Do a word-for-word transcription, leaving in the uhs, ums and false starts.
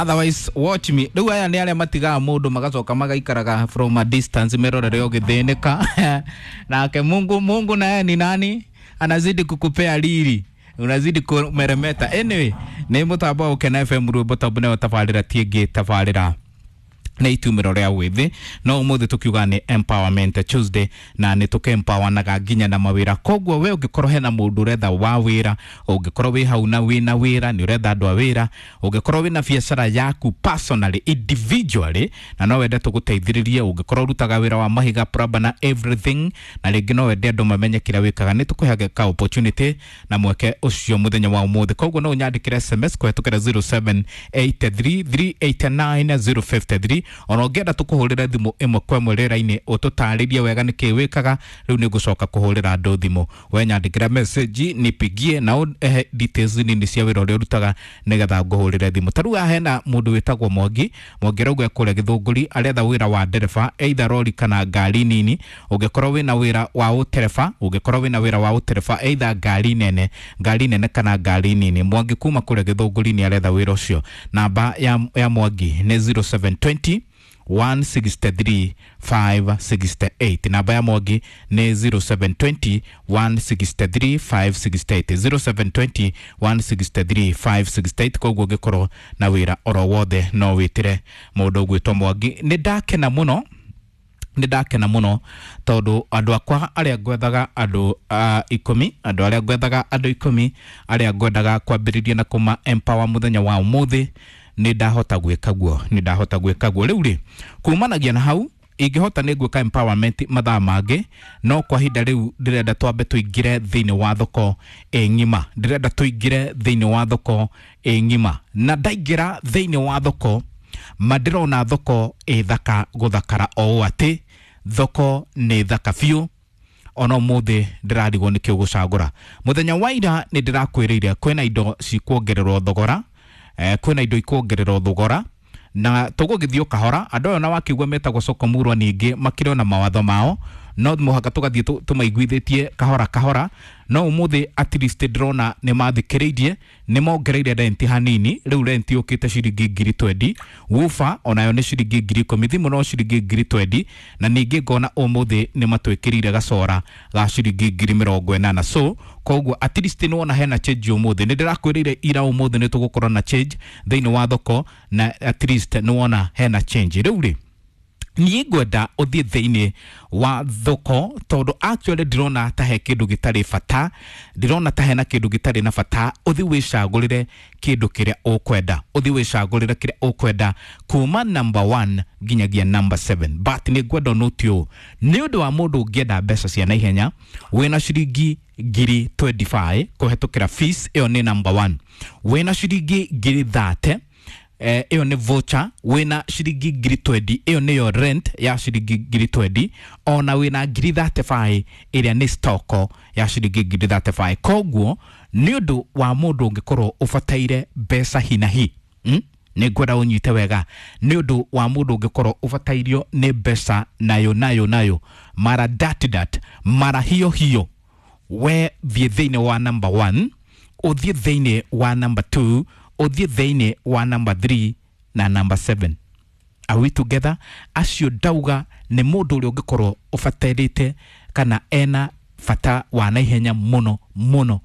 Otherwise watch me. Rĩu aya nĩ arĩa matigaga mũndũ magacoka magaikaraga from a distance merorere ũgĩthĩnĩka. Nake Mungu, Mungu naye ni nani? Anazidi kukupea riri, unazidi kumeremeta. Anyway, nĩ mũtambo wa Gũkena F M rwĩmbo tambo nĩyo tabarĩra tiĩngĩ tabarĩra nä itumä rä a wä thä no å må thä tå kiuga nä empowerment Tuesday na nä tå kempawanaga nginya na mawä ra. Koguo we å ngä korwo hena må ndå å retha wa wä ra, å ngä korwo wä hau na wä na wä ra nä å retha andå a wä ra, å ngä korwo wä na biacara yaku personally, individually, na no wende tå gå teithä rä rie, å ngä korwo å rutaga wä ra wa mahiga, plumber na everything, na rä ngä no wende andå mamenye kä rä a wä kaga, nä tå kå heage ka opportunity na mweke å cio må thenya wa å må thä. Koguo no å nyandä kä re S M S kũhetũkĩra zero seven eight three three eight nine zero five three. Ona ũngĩenda tũkũhũrĩre thimũ ĩmwe kwa ĩmwe rĩera-inĩ ũtũtarĩrie wega nĩkĩ wĩkaga, rĩu nĩ ngũcoka kũhũrĩra andũ thimũ. We nyandĩkĩra message nipigie na ũhe details nini cia wĩra ũrĩa ũrutaga nĩgetha ngũhũrĩre thimũ. Ta rĩu haha hena mũndũ wĩtagwo Mwangi. Mwangi arauga ekũrĩa Gĩthũngũri, aretha wĩra wa ndereba, either rori kana ngari nini. Ũngĩkorwo wĩna wĩra wa ũtereba, ũngĩkorwo wĩna wĩra wa ũtereba either ngari nene, ngari nene kana ngari nini. Mwangi kuma kũrĩa Gĩthũngũri nĩ aretha wĩra ũcio. Namba ya, ya Mwangi nĩ zero seven twenty one sixty three five sixty eight. Namba ya Mwangi nĩ zero seven twenty one sixty three five sixty eight. zero seven twenty one sixty three five sixty eight. Koguo ũngĩkorwo na wĩra oro wothe no wĩtĩre mũndũ ũgwĩtwo Mwangi. Nĩ ndakena mũno, nĩ ndakena mũno tondũ andũ akwa arĩa ngwethaga andũ, uh, ikũmi, andũ arĩa ngwethaga andũ ikũmi arĩa ngwendaga kwambĩrĩria na kũma empower mũthenya wa ũmũthĩ, nĩ ndahota gwĩka guo, nĩ ndahota gwĩka guo. Rĩu rĩ, kumanagia na hau ingĩhota nĩ ngwĩka empowerment mathaa mangĩ, no kwa ihinda rĩu ndĩrenda twambe tũingĩre thĩinĩ wa thoko ĩ ng'ima, ndĩrenda tũingĩre thĩinĩ wa thoko ĩ ng'ima. Na ndaingĩra thĩinĩ wa thoko, ma ndĩrona thoko ĩ thaka gũthakara o ũũ atĩ thoko nĩ thaka biũ. Ona ũmũthĩ ndĩrarigwo nĩkĩ ũgũcagũra. Mũthenya wa ira nĩ ndĩrakwĩrĩire kwĩna indo cikuongererwo thogora, eh, kwĩna indo ikuongererwo thogora na tũgũgĩthiĩ o kahora. Andũ aya ona wakĩigua metagwo soko murwa ningĩ makĩrĩ ona mawatho mao, no mũhaka tũgathiĩ tũ-, tũmaiguithĩtie kahora kahora. No ũmũthĩ at least ndĩrona nĩ mathikĩrĩirie, nĩ mongereire renti hanini. Rĩu renti yũkĩte ciringi ngiri twendi, woofer onayo nĩ ciringi ngiri ikũmi, thimũ no ciringi ngiri twendi, na ningĩ ngona ũmũthĩ nĩ matwĩkĩrĩire gacora ga ciringi ngiri mĩrongo ĩnana. So koguo at least nĩ wona hena change ũmũthĩ. Nĩ ndĩrakwĩrĩire ira ũmũthĩ nĩ tũgũkorwo na change thĩinĩ wa thoko, na at least nĩ wona hena change. Rĩu rĩ, niĩ ngwenda ũthiĩ thĩinĩ wa thoko tondũ actually ndĩrona ta he kĩndũ gĩtarĩ bata, ndĩrona ta hena kĩndũ gĩtarĩ na bata. Ũthiĩ wĩcagũrĩre kĩndũ kĩrĩa ũkwenda, ũthiĩ wĩcagũrĩre kĩrĩa ũkwenda kuma number one nginyagia number seven. But nĩ ngwenda ũnote ũũ, nĩ ũndũ wa mũndũ ũngĩenda mbeca cia naihenya wĩna ciringi ngiri twenty-five kũhetũkĩra fees, ĩyo nĩ number one. Wĩna ciringi ngiri thirty, eh, ĩyo nĩ voucher. Wĩna ciringi ngiri twenty, ĩyo nĩyo rent ya ciringi ngiri twenty. Ona wĩna ngiri thirty-five, ĩrĩa nĩ stock ya ciringi ngiri thirty-five. Koguo nĩ ũndũ wa mũndũ ũngĩkorwo ũbataire mbeca hi na hi, hmm? Nĩ ngwenda ũnyite wega, nĩ ũndũ wa mũndũ ũngĩkorwo ũbatairio nĩ mbeca nayo nayo nayo mara dat dat mara hiyo hiyo, we thiĩ thĩinĩ wa number one, ũthiĩ thĩinĩ wa number two, ũthiĩ thĩinĩ wa number three na number seven. Are we together? Acio ndauga nĩ mũndũ ũrĩa ũngĩkorwo ũbatairĩte kana ena bata wa naihenya mũno mũno.